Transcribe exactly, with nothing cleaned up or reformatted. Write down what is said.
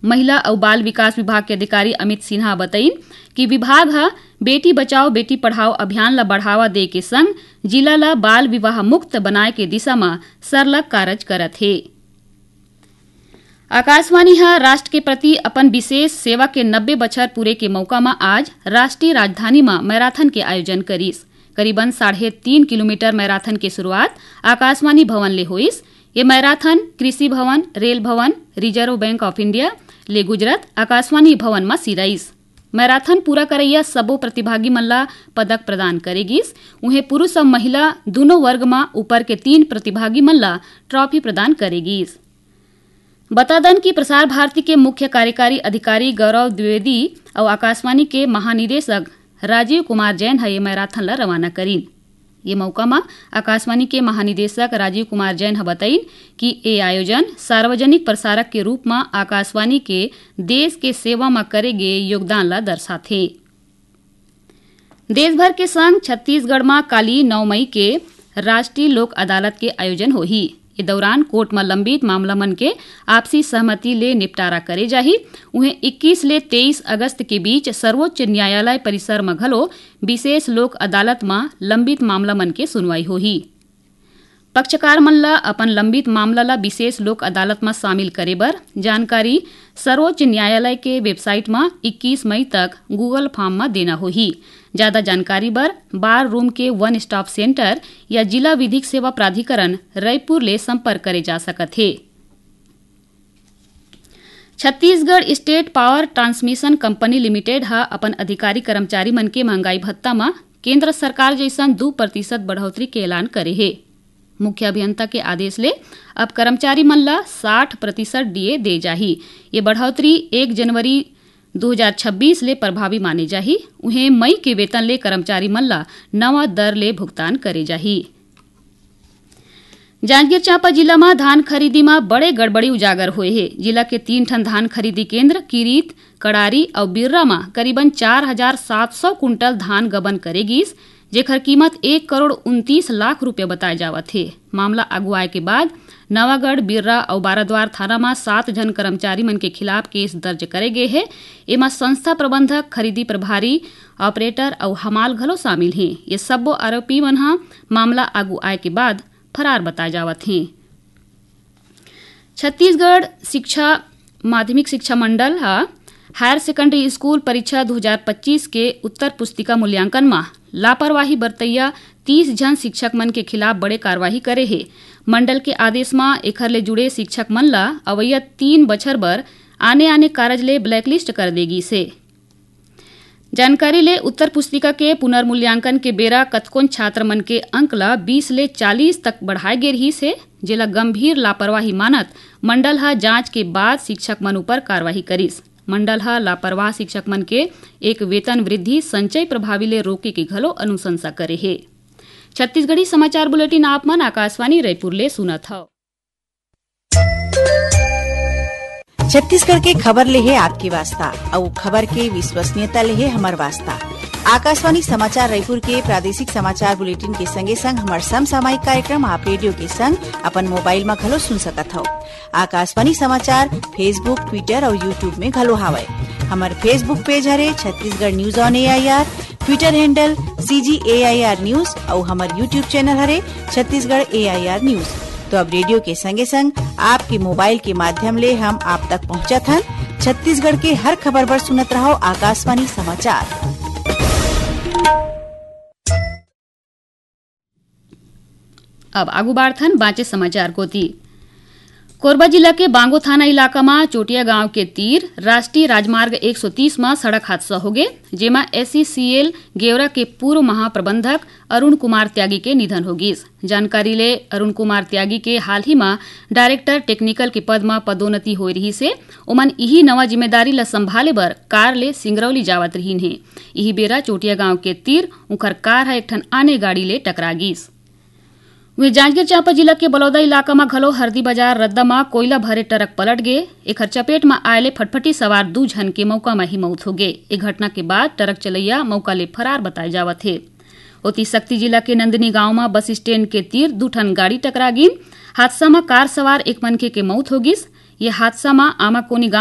महिला अउ बाल विकास विभाग के अधिकारी अमित सिन्हा बतइन कि विभाग ह बेटी बचाओ बेटी पढ़ाओ अभियान ल बढ़ावा दे के संग जिला ल बाल विवाह मुक्त बनाए के दिशा म सरलग कारज करत हे। आकाशवाणी ह राष्ट्र के प्रति अपन विशेष सेवा के नब्बे बछर पूरे के मौका म आज राष्ट्रीय राजधानी म मैराथन के आयोजन करिस। करीबन साढ़े तीन किलोमीटर मैराथन के शुरुआत आकाशवाणी भवन ले होइस। ये मैराथन कृषि भवन, रेल भवन, रिजर्व बैंक ऑफ इंडिया ले गुजरत आकाशवाणी भवन म सिराइस। मैराथन पूरा करइया सबो प्रतिभागी मन ला पदक प्रदान करे गिस। उहें, पुरुष अउ महिला दूनों वर्ग म ऊपर के तीन प्रतिभागी मन ला ट्रॉफी प्रदान करे गिस। बता दन कि प्रसार भारती के मुख्य कार्यकारी अधिकारी गौरव द्विवेदी अउ आकाशवाणी के महानिदेशक राजीव कुमार जैन ह ये मैराथन ला रवाना करिन। ये मौका म आकाशवाणी के महानिदेशक राजीव कुमार जैन ह बतइन कि ए आयोजन सार्वजनिक प्रसारक के रूप म आकाशवाणी के देश के सेवा म करे गे योगदान ला दर्शाथे। देश भर के संग छत्तीसगढ़ म काली नौ मई के राष्ट्रीय लोक अदालत के आयोजन होही। ए दौरान कोर्ट म लंबित मामला मन के आपसी सहमति ले निपटारा करे जाही। उहें, इक्कीस ले तेईस अगस्त के बीच सर्वोच्च न्यायालय परिसर म घलो विशेष लोक अदालत म लंबित मामला मन के सुनवाई होही। पक्षकार मन ल अपन लंबित मामला ल विशेष लोक अदालत म शामिल करे बर जानकारी सर्वोच्च न्यायालय के वेबसाइट म इक्कीस मई तक Google फॉर्म म देना होही। ज्यादा जानकारी बर बार रूम के वन स्टॉप सेंटर या जिला विधिक सेवा प्राधिकरण, रायपुर ले संपर्क करे जा सकत हे। Chhattisgarh state power transmission company limited ह अपन अधिकारी कर्मचारी मन के महंगाई भत्ता म केंद्र सरकार जइसन दू प्रतिशत बढ़ोतरी के ऐलान करे हे। मुख्य अभियंता के आदेश ले अब कर्मचारी मन ल साठ प्रतिशत डीए दे जाही। ये बढ़ोतरी एक जनवरी दू हजार छब्बीस ले प्रभावी माने जाही। उहें, मई के वेतन ले कर्मचारी मन ल नवा दर ले भुगतान करे जाही। जांजगीर चांपा जिला म धान खरीदी म बड़े गड़बड़ी उजागर होए हे। जिला के तीन ठन धान खरीदी केंद्र किरीत, कड़ारी अउ बिर्रा म करीबन चार हजार सात सौ कुंटल धान गबन करे गिस, जेखर कीमत एक करोड़ उनतीस लाख रुपया बताए जावत हे। मामला आगू आए के बाद नवागढ़, बिर्रा अउ बाराद्वार थाना म सात झन कर्मचारी मन के खिलाफ केस दर्ज करे गे हे। एमा संस्था प्रबंधक, खरीदी प्रभारी, ऑपरेटर अउ हमाल घलो शामिल हे। ये सब्बो आरोपी मन ह मामला आगू आए के बाद फरार बताए जावत हे। छत्तीसगढ़ शिक्षा, माध्यमिक शिक्षा मंडल ह हायर सेकेंडरी स्कूल परीक्षा दू हजार पच्चीस के उत्तर पुस्तिका मूल्यांकन म लापरवाही बरतइया तीस झन शिक्षक मन के खिलाफ बड़े कार्रवाई करे हे। मंडल के आदेश म एखर ले जुड़े शिक्षक मन ल अवइया तीन बछर बर आने-आने कारज ले ब्लैकलिस्ट कर दे गिस हे। जानकारी ले उत्तर पुस्तिका के पुनर्मूल्यांकन के बेरा कतकोन छात्र मन के अंक ल बीस ले चालीस तक बढ़ाए गे रिहिस हे, जेला गंभीर लापरवाही मानत मंडल ह जांच के बाद शिक्षक मन ऊपर कार्रवाई करिस। मंडल ह लापरवाह शिक्षक मन के एक वेतन वृद्धि संचय प्रभावी ले रोके के घलो अनुशंसा करे हे। छत्तीसगढ़ी समाचार बुलेटिन आप मन आकाशवाणी रायपुर ले सुनत हव। छत्तीसगढ़ के खबर ले हे आपके वास्ता, अउ खबर के विश्वसनीयता ले हे हमर वास्ता। आकाशवाणी समाचार रायपुर के प्रादेशिक समाचार बुलेटिन के संगे संग हमर समसामयिक कार्यक्रम आप रेडियो के संग अपन मोबाइल म घलो सुन सकत हव। आकाशवाणी समाचार Facebook, Twitter अउ YouTube में घलो हावय। हमर Facebook पेज हरे Chhattisgarh news on AIR, Twitter handle CG AIR news अउ हमर YouTube चैनल हरे छत्तीसगढ़ एआईआर न्यूज। तो अब रेडियो के संगे संग आपके मोबाइल के माध्यम ले हम आप तक पहुंचत हन। छत्तीसगढ़ के हर खबर बर सुनत रहव आकाशवाणी समाचार। अब आगू बाढ़थन बांचे समाचार कोती। कोरबा जिला के बांगो थाना इलाका म चोटिया गांव के तीर राष्ट्रीय राजमार्ग एक सौ तीस म सड़क हादसा होगे, जेमा एसईसीएल गेवरा के पूर्व महाप्रबंधक अरुण कुमार त्यागी के निधन हो गिस। जानकारी ले अरुण कुमार त्यागी के हाल ही म डायरेक्टर टेक्निकल के पद म पदोन्नति होए रिहिस हे। ओमन इही नवा जिम्मेदारी ल संभाले बर कार ले सिंगरौली जावत रिहिन हे। इही बेरा चोटिया गांव के तीर उंखर कार ह एक ठन आने गाड़ी ले टकरा गिस। वहीं जांजगीर चांपा जिला के बलौदा इलाका म घलो हरदी बाजार रद्दा म कोयला भरे ट्रक पलट गे। एखर चपेट म आए ले फटफटी सवार दू झन के मौका म ही मौत हो गे। ए घटना के बाद ट्रक चलैया मौका ले फरार बताए जावत हे। ओती सक्ती जिला के नंदिनी गांव म बस स्टैंड के तीर दू ठन गाड़ी टकरा गिन। हादसा म कार सवार एक मनखे के मौत हो गिस। ये हादसा म आमाकोनी गांव